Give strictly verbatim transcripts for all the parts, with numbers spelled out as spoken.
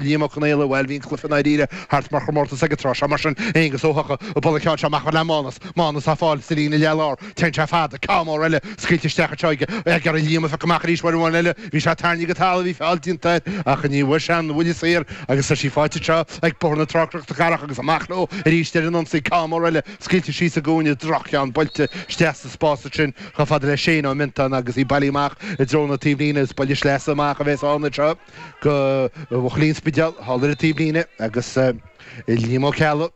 Liam Ó Conaola, bhuel, bhí an cluiche i ndáiríre thart mar chomórtas ag an tráth seo, mar sin, Aonghus Ó hEochaidh ag bualadh an cheann seo amach le Mánas, Mánas á fáil sa líne leath lár, téann sé fada, ceann mór eile scaoilte isteach anseo aige, ag iarraidh Liam a phiocadh amach arís uair amháin eile, bhí sé tarraingthe go talamh, bhí feall déanta air ach ní bhfuair sé an bhuille saor agus tá sí faighte anseo ag Bóthar na Trá Cnoc na Cathrach agus amach leo arís ar an ionsaí, ceann mór eile scaoilte síos i gcúinne, droch-cheann buailte isteach sa spás ansin chomh fada le Shane Ó Miontáin agus í bailithe amach i dtreo na taobhlíne, is buille sleasa amach a bheas ann anseo. Do bhuachaillí an Spidéil thall ar an taobhlíne agus Liam Ó Ceallaigh,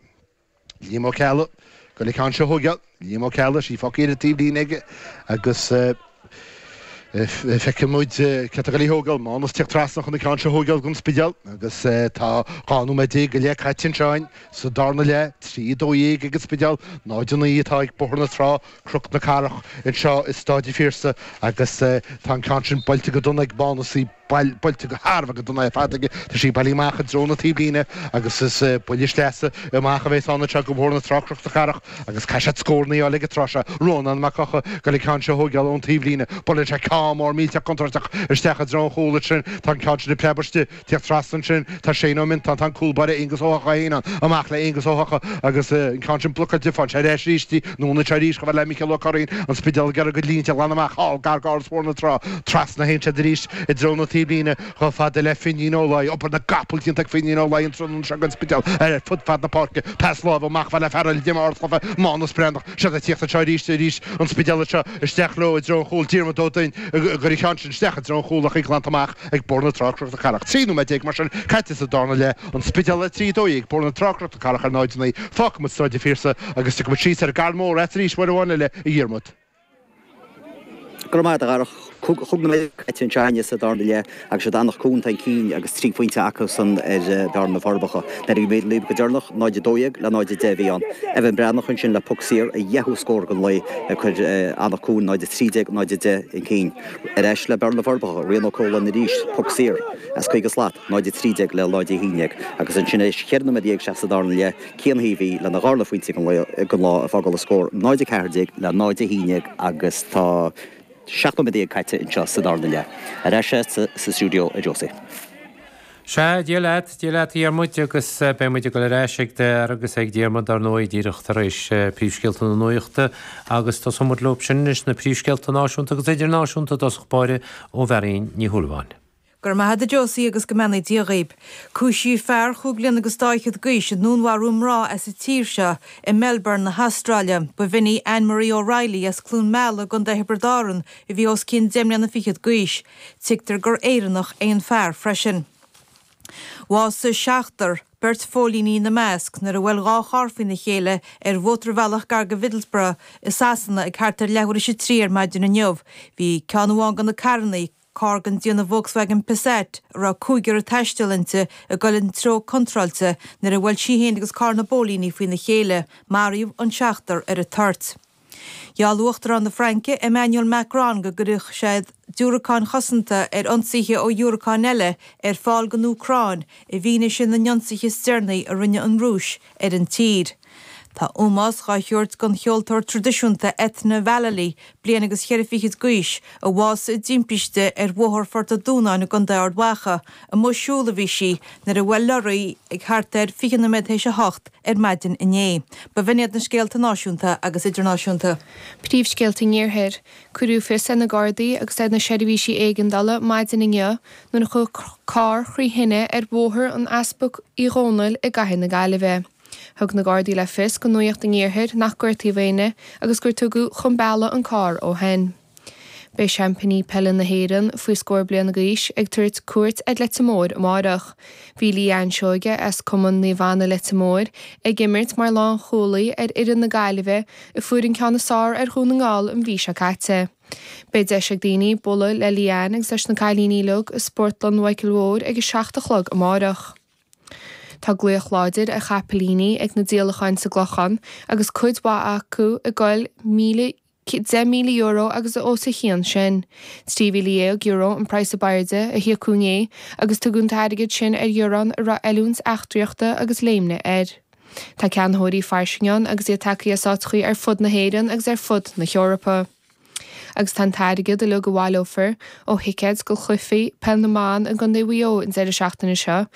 Liam Ó Ceallaigh, ag goil an ceann seo a thóigeáil, Liam Ó Ceallaigh, sí fágtha ar an taobhlíne aige agus feicfidh muid cé atá ag goil í thógáil, Mánas ag tíocht trasna chun an ceann seo a thóigeáil don Spidéal agus tá dhá nóiméad déag go leith caite anseo againn sa darna leath, trí a dó dhéag ag an Spidéal, náid a naoi atá ag Bóthar na Trá, Cnoc na Cathrach anseo i Stáid an Phiarsaigh agus tá an ceann sin buailte go dona ag Mánas, í buailte go thar a bheith go dona ar fad aige. Tá sí bailithe amach i dtreo na taobhlíne agus is buille sleasa amach a bheas ann anseo do Bhóthar na Trá Cnoc na Cathrach agus caithfidh siad scóranna a fháil ag an tráth seo. Rónán Mac Eocha ag goil an ceann seo a thóigeáil ón taobhlíne. Buaileann sé ceann mór millteach contúirteach isteach i dtreo an chúil ansin. Tá an ceann sin ag preabadh istigh. Tíocht trasna ansin tá Shane Ó Miontáin, tá an cúl báire Aonghus Ó hEochaidh féin ann. Amach le Aonghus Ó hEochaidh agus an ceann sin blocáilte, faigheann sé ar ais arís í. Anonn anseo arís chomh fada le Micheál Ó Curraoin, an Spidéal ag iarraidh a gcuid línte a ghlanadh amach thall gar d'áras Bhóthar na Trá. Trasna a théann siad arís i dtreo na taobhlíne chomh fada le Finín Ó Laoi. Obair na gcapall déanta ag Finín Ó Laoi an tráthnóna seo don Spidéal ar fud fad na páirce. Pas láimhe amach chomh fada le fear eile d'imigh ardchluiche, Mánas Breathnach. Siad ag tíocht anseo arís arís an Spidéal anseo isteach leo i dtreo an chúil. Diarmuid Ó Duinn ag cur an cheann sin isteach i dtreo an chúil ach í glanta amach ag Bóthar na Trá Cnoc na Cathrach. Trí nóiméad déag mar sin caite sa darna leath, An Spidéal ar trí dó dhéag, Bóthar na Trá Cnoc na Cathrach ar náid a naoi. Fágfaidh muid Staid an Phiarsaigh agus tiocfaidh muid síos ar an gCarn Mór agat arís uair amháin eile, a Dhiarmuid. Go raibh maith agat, a Dharach. Cúig nóiméad caite anseo againne sa darna leath agus siad Anach Cuain atá chun cinn agus trí phointe acusan ar bhearna na Forbacha. Nuair a bhí mé libh go deireanach, náid a dó dhéag le náid a deich a bhí ann. Evan Breathnach ansin le poc saor, a dheichiú scór den lae ag cur Anach Cuain náid a trí déag, náid a deich chun cinn. Ar ais le Bearna na Forbacha, Rian Ó Cualáin arís, poc saor as caoga slat, náid a trí déag le náid a haon déag. Agus ansin théis cheithre nóiméad dhéag isteach sa darna leath, Cian Heavey lena dharna phointe den lá ag fágáil an scór náid a ceathair déag le náid a haon déag agus tá seacht nóiméad déag caite anseo sa darna leath. Ar ais sa stiúideo, a Josie. Sea, Dia leat, Dia leat a Dhiarmuid, agus beidh muid ag dul ar ais ag Dara agus ag Diarmuid dar ndóigh díreach tar éis príomhscéalta na nuachta agus tosóidh muid leo sin anois, na príomhscéalta náisiúnta agus idirnáisiúnta i dtosach báire ó Mharion Ní Shúilleabháin. Go raibh maith agat a Josie agus go mbeannaí Dia dhaoib. Cúisíodh fear chúig bliana agus dá fhichead d'aois i ndúnmharú mná as an tír seo i Melbourne na hAstráile. Ba bh'in í Anne Marie O'Reilly as Cluain Meala i gContae Thiobraid Árann a bhí os cionn deich mbliana fichead d'aois. Tuigtear gur Éireannach é an fear freisin. Bhásaigh seachtar, beirt phóilíní ina measc, nuair a bhuail dhá charr faoina chéile ar mhótarbhealach gar do Mhiddlesbrough i Sasana ag thart ar leathuair théis a trí ar maidin inniu. Bhí ceann amháin de na carranna, carr den déanamh Volkswagen Passat a raibh cúigear ag taisteal inti, ag dul an treo contráilte nuair a bhuail sí féin agus carr na bpóilíní faoina chéile. Maraíodh an seachtar ar an toirt. Gheall Uachtarán na Fraince, Emmanuel Macron go gcuirfeadh sé diúracáin chosanta ar ionsaithe ó dhiúracáin eile ar fáil don Úcráin i bhfianaise na n-ionsaithe is deireanaí a rinne an Rúis ar an tír. Tá ómós dhá thabhairt don cheoltóir traidisiúnta Ethna Vallely, bliain agus cheithre fichid d'aois, a bhásaigh i dtimpiste ar Bhóthar Phort a' Dúnáin i gContae Ard Mhacha. Amuigh ag siúl a bhí sí nuair a bhuail lorraí ag thart ar fiche nóiméad théis a hocht ar maidin inné. Ba bh'in iad na scéalta náisiúnta agus idirnáisiúnta. Príomhscéalta an Iarthair. Cuireadh fios ar na Gardaí agus ar na seirbhísí éigeandála maidin inniu nuair a chuaigh carr thrí thine ar Bhóthar an Easpaig Uí Dhónaill i gcathair na Gaillimhe. Thug na Gardaí le fios do Nuacht an Iarthair nach gortaíodh éinne agus gur tugadh chun bealaigh an carr ó shin. Beidh seaimpíní peile na hÉireann, faoi scór bliana d'aois, ag tabhairt cuairt ar Leitir Móir amárach. Bhí Leanne Seoige as Cumann Naomh Anna Leitir Móir ag imirt mar lánchúlaí ar fhoireann na Gaillimhe a fuair an ceann is fearr ar Dhún na nGall an mhí seo caite. Beidh deis ag daoine bualadh le Leanne agus leis na cailíní uilig i Spórtlann Mhichael Mhóir ag a seacht a chlog amárach. Tá glaoch láidir ar chapaillíní ag na díolacháin sa gClochán agus cuid mhaith acu ag goil míle deich míle euro agus os a chionn sin. Trí mhíle dhéag euro an praghas ab airde a híocadh inné agus tugadh an t-airgead sin ar bhiorán a raibh oiliúint eachtraíochta agus léimnigh air. Tá ceannaitheoirí fairsing ann agus iad tagtha as áiteachaí ar fud na hÉireann agus ar fud na hEorpa. Agus tá an t-airgead uilig a bhaileofar ó thicéid do chluichí peil na mban i gContae Mhaigh Eo an deireadh seachtaine seo le